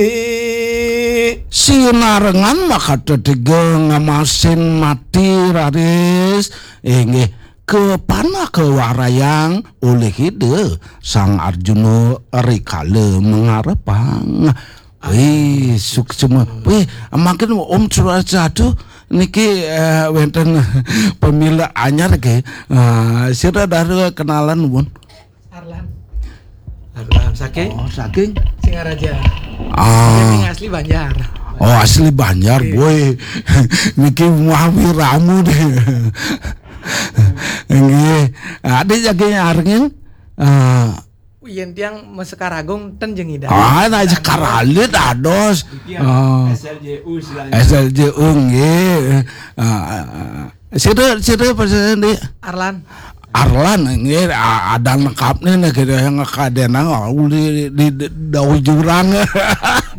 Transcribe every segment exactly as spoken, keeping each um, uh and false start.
Eh, sinarengan makatetiga ngamasin mati raris, inggih, kapanah kawarayang olih Ida Sang Arjuna rikala mangarepang. Wih, suksma. Wih, mangkin Om Swastiastu niki, eh, wénten pamilet anyar nggih. Eh, sira dara kenalan, Bun. Arlan. Arlan saking? Oh, saking? Singaraja. Ah. Saking asli Banjar. Oh, asli Banjar, boy. Niki mah wiramu deh. Nggih. Adik saking Arengin. Ah. Yén tiang Sekar Agung ten jeung Ida. Ah, nah, Sekar Alit dados. Iya, ah. S L J U istilahnya. S L J U nggih. Ah, ah, ah. Sira, sira apa sih, Dik? Arlan. Arlan nggih, a-, ada lengkapnya nih, kita yang ngakadenang, ah, uli di, di, di dauh jurang.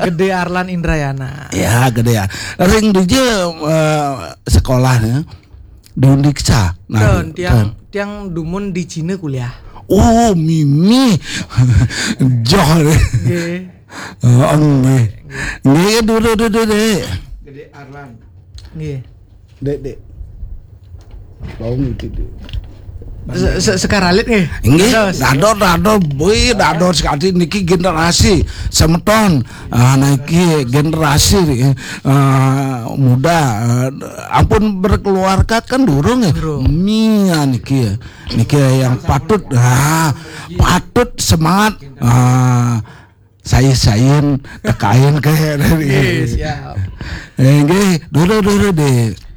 Gedé Arlan Indrayana. Ya, gedé ya. Ring dija, eh, sekolahnya di Undiksa. Nah, tiang, tiang dumun di Cina kuliah. Oh, mimi. Joh. Nggih. Oh, nggih. Nggih, duduk, duduk, Dek. Gedé Arlan. Nggih. Dek, Dek. Bau ngerti, Dek. Se-, se-, Sekar Alit nggih? Nggih, dados. Dados, dados, bui, dados sekali niki generasi semeton. Ah, niki generasi, ah, muda, ah, ampun berkeluarga kan durung ya? Durung. Mia niki ya. Niki yang patut, ah, patut semangat. Ah, saya-sayan tekain ke. Nggih, siap. Eh, nggih, dulu, dulu, Dek.